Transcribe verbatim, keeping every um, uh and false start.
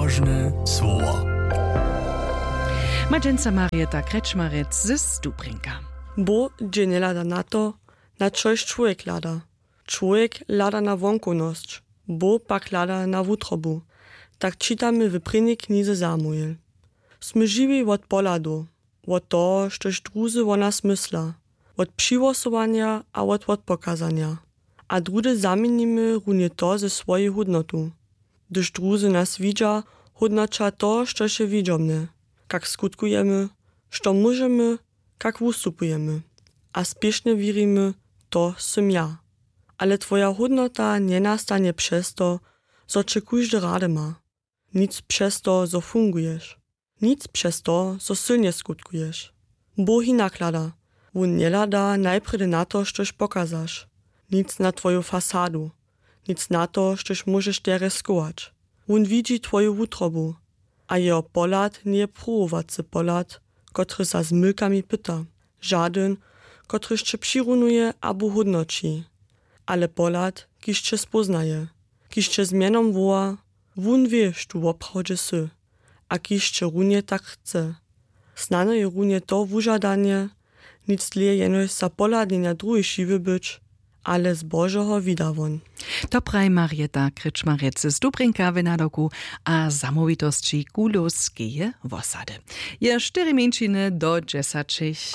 Wóžne słowa. Ma dźensa Marieta Krečmarec z Stubrinka. Bóh dźě njehlada na to, na čož čłowjek hlada. Čłowjek hlada na wonkownosć, Bóh pak hlada na wutrobu. Tak čitamy w prěnjej knize Samuel. Smy žiwi wot pohladow, wot toho, štož druzy wo nas mysla, wot přihłosowanja a wot wotpokazanja. A druhdy zaměnimy runje to ze swojej hódnotu. Hdyž druzy nas widźa, hódnoća to, štož je widźomne, kak skutkujemy, što móžemy, kak wustupujemy. A spěšnje wěrimy, to sym ja. Ale twoja hódnota njenastanje přez to, zo će kóždy rady ma. Nic přez to, zo funguješ. Nic přez to, zo sylnje skutkuješ. Bóh hinak hlada. Wón njehlada najprjedy na to, štož pokazaš. Nic na twoju fasadu. Nic na to, štož móžeš derje schować. Wón widźi twoju wutrobu. A jeho pohlad njeje pruwowacy pohlad, kotryž za zmylkami pyta. Žadyn, kotryž će přirunuje abo hódnoći. Ale pohlad, kiž će spóznaje, kiž će z mjenom woła, wón wě, štó woprawdźe sy, a kiž će runje tak chce. Snano je runje to wužadanje, nic dlě jenož za pohladnjenja druhich žiwy być, ale z Božeho wida won. To praji Marieta Krečmarec z Dubrinka w nadawku a zamołwitosći Kulowskeje wosady. Je štyri mjeńšiny do dźesaćich.